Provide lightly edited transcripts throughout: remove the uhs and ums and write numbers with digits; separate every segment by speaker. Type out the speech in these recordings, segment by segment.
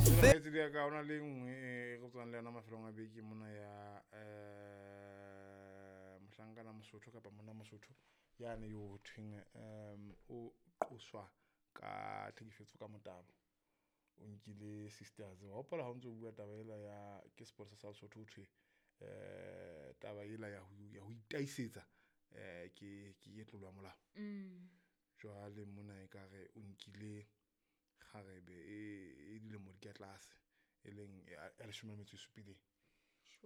Speaker 1: Kgaitsedi ya ka, ho na le e nngwe e re tswang le yona mafelong a beke mona ya mohlankana Mosotho kapa monna Mosotho yane yo ho thweng o qoswa ka tlhekefetso ka motabo. O nkile sisters. Wa hopola ha o ntso bua taba ela ya ke sepolesa sa Lesotho, ho thwe taba ela ya ho itaisetsa ke tlolo ya molao. Jwale mona ekare o nkile kgarebe e dilemo di ka tlase, e leng ya 17.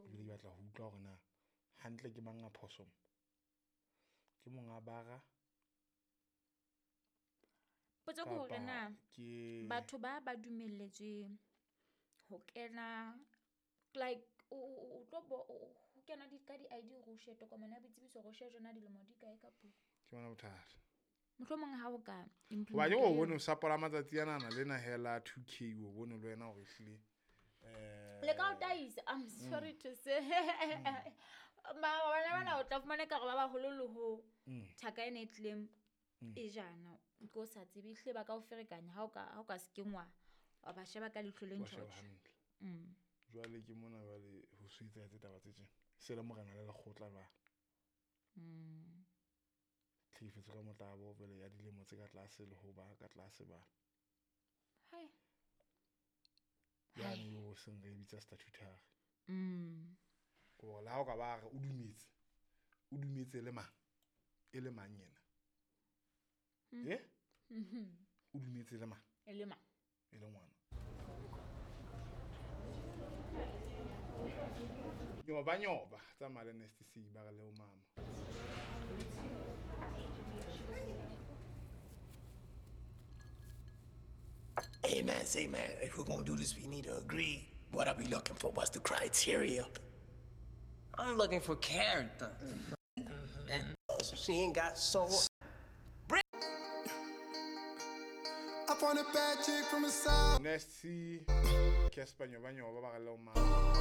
Speaker 1: Ebile ke batla ho utlwa hore na hantle ke mang a phoso mo? Ke monga bara?
Speaker 2: Potso ke hore na
Speaker 1: Kapa ke
Speaker 2: batho ba dumelletswe ho kena, like o tlo bo o kena di ka di-ID hore o shebe tokomane ya boitsebiso hore o shebe jona dilemo di kae kapo?
Speaker 1: Ke bona bothata.
Speaker 2: Mohlomong ha o ka
Speaker 1: Hoba ke
Speaker 2: implementa
Speaker 1: o
Speaker 2: eo.
Speaker 1: bone o sapola matsatsi anana lena hela 2K, o bone le wena hore ehlile
Speaker 2: Le ka o taisa, I'm sorry to say. Ma bana bana o tla fumana ekare ba baholo le ho thaka ena e tlileng e jana, ke o sa tsebe ehlile ba ka o ferekanya ha o ka se kengwa wa ba sheba ka leihlo le
Speaker 1: wa sheba
Speaker 2: ntjhotjho.
Speaker 1: Hantle. Jwale ke mona jwale ho so etsahetse taba tse tjena. Se le morena le lekgotla jwale. Tlhekefetso ka motabo jwale ya dilemo tse ka tlase le ho ba ka tlase ba.
Speaker 2: Hai.
Speaker 1: Yane yo seng re e bitsa statutory. Hore le ha o ka ba re o dumetse, o dumetse le mang? E le mang yena? Eh? O dumetse le mang?
Speaker 2: E le mang?
Speaker 1: E le ngwana. Nyoba nyoba tsamaya le Nasty C ba re leo mama.
Speaker 3: Hey man, say man, if we're gonna do this, we need to agree. What are we looking for? What's the criteria?
Speaker 4: I'm looking for character.
Speaker 3: She ain't got soul.
Speaker 5: I found a bad chick from the south.
Speaker 1: Nasty Casper, nyoba nyoba ba re leo mama.